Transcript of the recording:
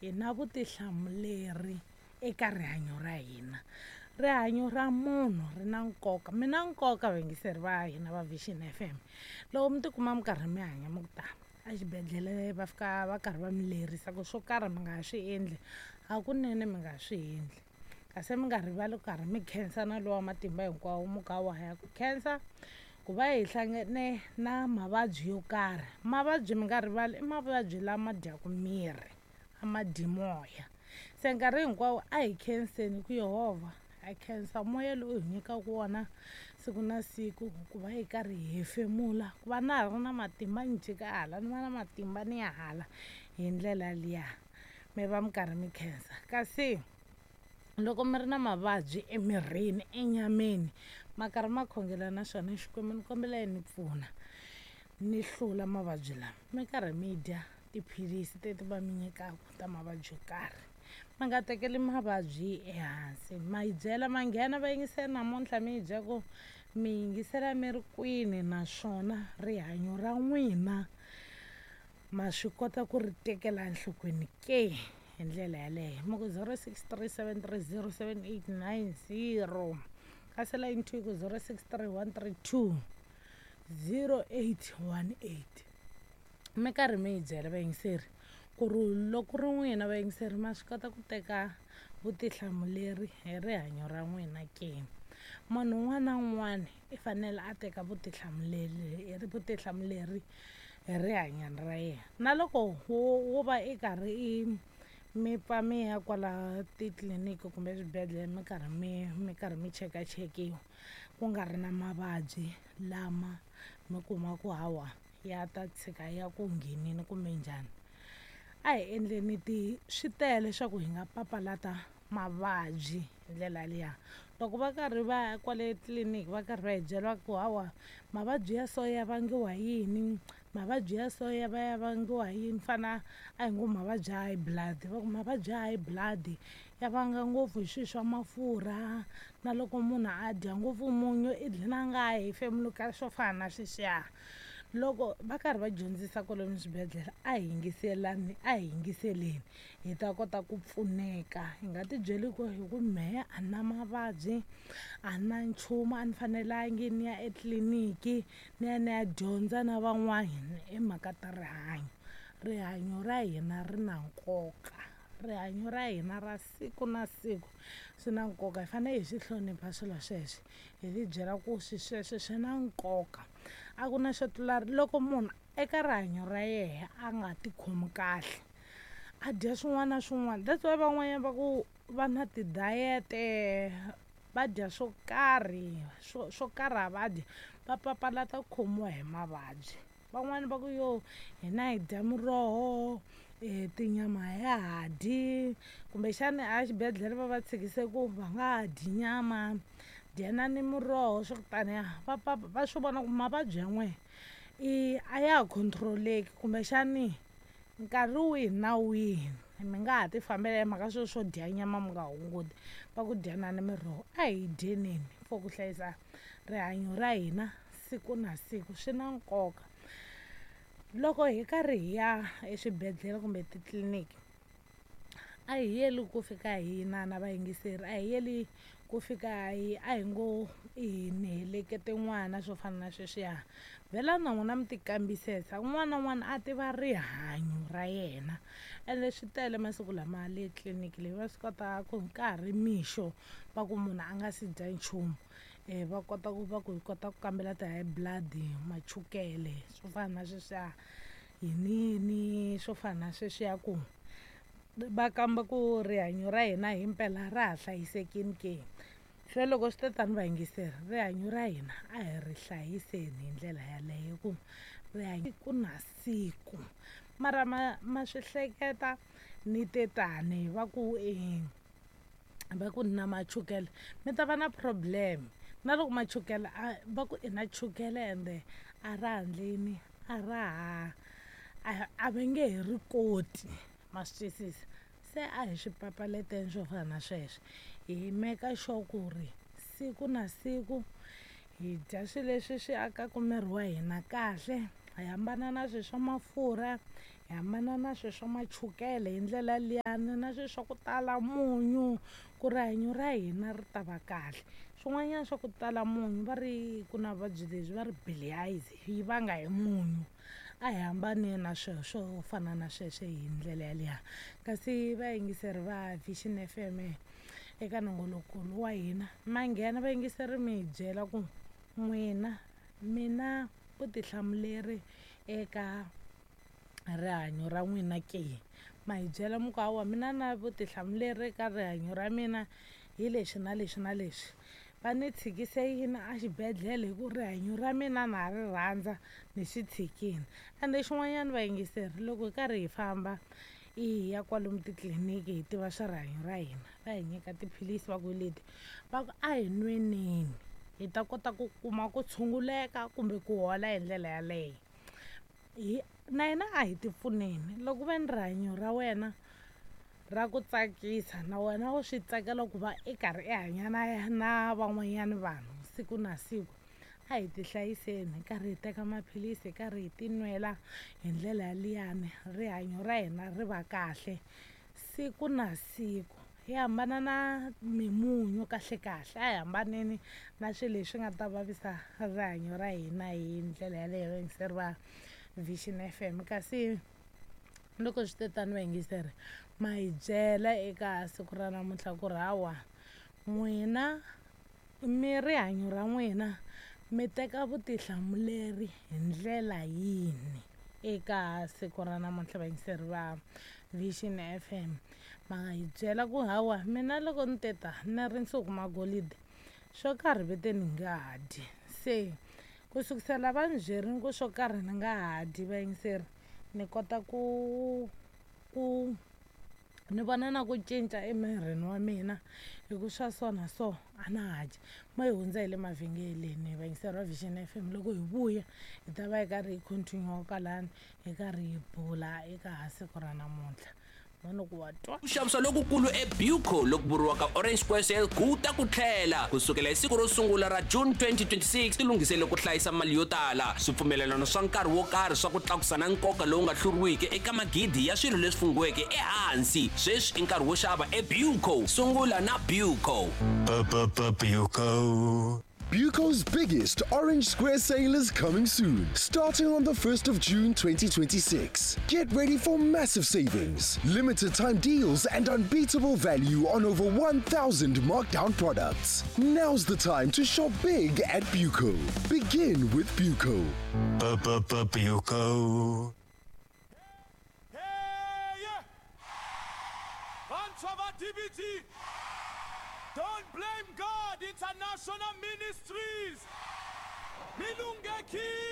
Hi na vutihlamuleri eka rihanyo ra hina. Rihanyo ra munhu ri na nkoka. Mi na nkoka vayingiseri va hina va Vision FM. Loko mi tikuma mi karhi mi hanya mi ku tani exibedhlele va fika va karhi va mi lerisa ku swo karhi mi nga swi endli, hakunene mi nga swi endli. Kasi mi nga rivali ku karhi mi khensa na lowa matimba hinkwawo mu ka wa ya ku khensa ku va hi hlangane na mavabyi yo karhi. Mavabyi mi nga rivali i mavabyi lama dyaka miri, a ma dyi moya. Se nkarhi hinkwawo a hi khenseni ku Yehovha ha khensa moya lowu hi nyikaka wona siku na siku ku va hi karhi hi hefemula, ku va na ha ri na matimba ni jika hala ni va na matimba ni ya hala hi ndlela liya. Mi va mi karhi mi khensa. Kasi loko mi ri na mavabyi emirini, enyameni, ma karhi ma khongela na xona Xikwembu ni kombela yi ni pfuna ni hlula mavabyi lama. Mi karhi mi dya tiphilisi teti va mi nyikaka ta mavabyi yo karhi. Mi nga tekeli mavabyi ehansi. Ma yi byela ma nghena va yingisela namuntlha mi yi byela ku mi yingisela mi ri kwini naswona rihanyo ra n'wina ma swi kota ku ri tekela enhlokweni ke hi ndlela yaleyo. Mi ku 0637307890 kasi line 2 ku 0631320818. Mi karhi mi yi byela vayingiseri ku ri loko ri n'wina vayingiseri ma swi kota ku teka vutihlamuleri hi rihanyo ra n'wina ke. Munhu un'wana na un'wana i fanele a teka vutihlamuleri hi rihanyo ra yena. Na loko wo va i karhi i mi pfa mi ya kwala titliliniki kumbe eswibedhlele mi karhi mi karhi mi chekachekiwa ku nga ri na mavabyi lama mi kuma ku hawa ya ta tshika ya ku nghenini kumbe njhani. A hi endleni ti swi tele leswaku hi nga papalata mavabyi hi ndlela liya. Loko va karhi va ya kwale tliliniki va karhi va hi byela ku hawa mavabyi ya so ya vangiwa hi yini, mavabyi ya so ya va ya vangiwa hi yini, fana a hi ngo mavabyi ya high blood, va ku mavabyi ya high blood ya vanga ngopfu hi swilo swa mafurha na loko munhu a dya ngopfu munyu i dlina a nga ha hefemuli ka swo fana na sweswiya. Loko va karhi va dyondzisa kwalomu swibedhlele a hi yingiselani, a hi yingiseleni hi ta kota ku pfuneka. Hi nga tibyeli ku hi ku mehe a ni na mavabyi, a ni na nchumu, a ni fanelangi ni ya etliliniki ni ya ni ya dyondza na van'wana hi mhaka ta rihanyo. Rihanyo ra hina ri na nkoka, rihanyo ra hina ra siku na siku swi na nkoka. Hi fanele hi swi hlonipha swilo sweswo, hi tibyela ku swilo sweswo swi na nkoka. A ku na xo tlula loko munhu eka rihanyo ra yena a nga tikhomi kahle, a dya swin'wana na swin'wana. That's why van'wanyana va ku va na ti-diet-e va dya swo karhi swo karhi a va dyi va papalata ku khomiwa hi mavabyi. Van'wani va ku yo hina hi dya miroho, tinyama a ya ha dyi, kumbexani a xibedhlele va va tshikise ku va nga ha dyi nyama, dyanani miroho swa ku taniya. Va va swi vona ku mavabyi ya n'wehe i a ya ha control-eki kumbexani nkarhi wihi na wihi mi nga ha ti fambela hi mhaka sweswo swo dya nyama mi nga hunguti, va ku dyanani miroho. A hi dyeneni for ku hlayisa rihanyo ra hina siku na siku swi na nkoka. Loko hi karhi hi ya eswibedhlele kumbe titliliniki a hi yeli ku fika hi inana vayingiseri, a hi yeli ku fika hi a hi ngo ni helekete n'wana swo fana na sweswiya. Vhela na n'wina mi ti kambisisa, un'wana na un'wana a tiva rihanyo ra yena. Ende swi tele masiku lama le tliliniki leyi va swi kota ku nkarhi mixo va ku munhu a nga si dya nchumu va kota ku va ku hi kota ku kambela ti-high blood, machukele swo fana na sweswiya, yiniyini swo fana na sweswiya ku va kamba ku rihanyo ra hina himpela ra ha hlayisekile ke. Se loko swi te tani vayingiseri rihanyo ra hina a hi ri hlayiseni hi ndlela yaleyo ku rihanyo siku na siku. Mara ma swi hleketa ni te tani va ku va ku ni na machukele mi ta va na problem. Na loko machukele a va ku i na chukele ende a ra ha ndleni a ra ha a va nge he ri koti ma swi twisisa. Se a hi swi papalateni swo fana na sweswo, hi make sure ku ri siku na siku hi dya swilo leswi swi akaka miri wa hina kahle, hi hambana na swilo swa mafurha, Hi hambana na swilo swa machukele hi ndlela liyani na swilo swa ku tala munyu ku rihanyo ra hina ri ta va kahle. Swin'wanyana swa ku tala munyu va ri ku na vuvabyi lebyi va ri bilharzia yi vanga hi munyu. A hi hambane na swilo swo fana na sweswo hi ndlela yaliya. Kasi vayingiseri va Vision F_M eka nongoloko lowu wa hina ma nghena vayingiseri mi hi byela ku n'wina mi na vutihlamuleri eka rihanyo ra n'wina ke. Ma hi byela mi ku hawa mina na vutihlamuleri eka rihanyo ra mina hi leswi na leswi na leswi. Va ni tshikise yini a xibedhlele hi ku rihanyo ra mina na ha ri rhandza ni swi tshikini. Ende xin'wanyana vayingiseri loko hi karhi hi famba hi ya kwalomu titliliniki hi tiva swa rihanyo ra hina va hi nyika tiphilisi va ku leti va ku a hi nweneni hi ta kota ku kuma ku tshunguleka kumbe ku hola hi ndlela yaleyo. Hi na hina a hi ti pfuneni loko ve ni rihanyo ra wena ra ku tsakisa na wena wa swi tsakela ku va i karhi i hanya na na van'wanyana vanhu siku na siku a hi ti hlayiseni hi karhi hi teka maphilisi hi karhi hi ti nwela hi ndlela yaliyani rihanyo ra hina ri va kahle siku na siku. Hi hambana na mimunyu kahle kahle a hi hambaneni na swilo leswi nga ta vavisa rihanyo ra hina hi ndlela yaleyo vayingiseri va Vision F_M. Kasi loko swi te tano vayingiseri ma hi byela eka siku ra namuntlha ku ri hawa n'wina mi rihanyo ra n'wina mi teka vutihlamuleri hi ndlela yini eka siku ra namuntlha vayingiseri va Vision F_M. Ma hi byela ku hawa mina loko ni te ta ni ri nsuku magolide swo karhi ve te ni nga ha dyi se ku sukisela va ni byerini ku swo karhi ni nga ha dyi vayingiseri ni kota ku ku ni vona na ku cinca emirini wa mina hi ku swa so na so a na ha dyi. Mo hi hundza hi le mavhengeleni vayingiseri va Vision F_M loko hi vuya hi ta va hi karhi hi continue kwalani hi karhi hi bula eka siku ra namuntlha. Mani ku wa twa. Ku xavisa lokukulu eBuco loku vuriwaka Orange Square Sale ku ta ku tlhela ku sukela hi siku ro sungula ra June 2026. Tilunghisele ku hlayisa mali yo tala, swipfumelelano swa nkarhi wo karhi swa ku tlakusa na nkoka lowu nga hluriwiki eka magidi ya swilo leswi funghiweke ehansi. Sweswi i nkarhi wo xava eBuco. Sungula na Buco. Buco. Buco's biggest Orange Square sale is coming soon, starting on the 1st of June 2026. Get ready for massive savings, limited time deals, and unbeatable value on over 1,000 markdown products. Now's the time to shop big at Buco. Begin with Buco. Buco. Don't blame God, International Ministries. Milungekile.